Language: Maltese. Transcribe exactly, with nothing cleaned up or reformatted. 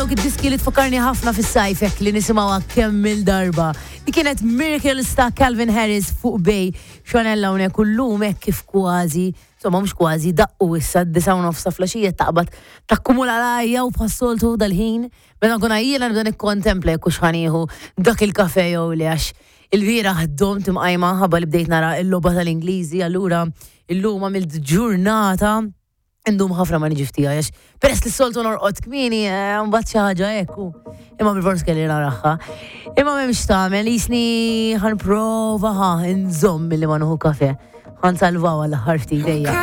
Dawk id-diski li tfakkarni ħafna fis-sajf hekk li nisimgħuha kemm il-darba. Di kienet Miracles ta' Calvin Harris fuq Bay. Xonella hawnhekk illum hekk kif kważi, insomma mhux kważi, daqqu issa d-disgħa u nofs ta' filgħaxija, taqbad takkumula l-għajja u bħas-soltu dal-ħin. Meta nkun għajjiena nibda nikkontempla jekk hux ħa nieħu dak il-kafe jew le, għax il-bieraħ domt imqajma ħabba li bdejt nara l-logħba tal-Ingliżi, allura illum għamilt ġurnata indum ħafna ma niġi ftija, għax peress li s-soltu norqod kmieni, eh, mbagħad xi ħaġa hekk u. Imma bil-fors kelli naraha. Imma m'hemmx tagħmel, jisni ħa nprova ħa nżomm milli ma nieħu kafe. Ħa nsalvaw għall-aħħar ftit ejja.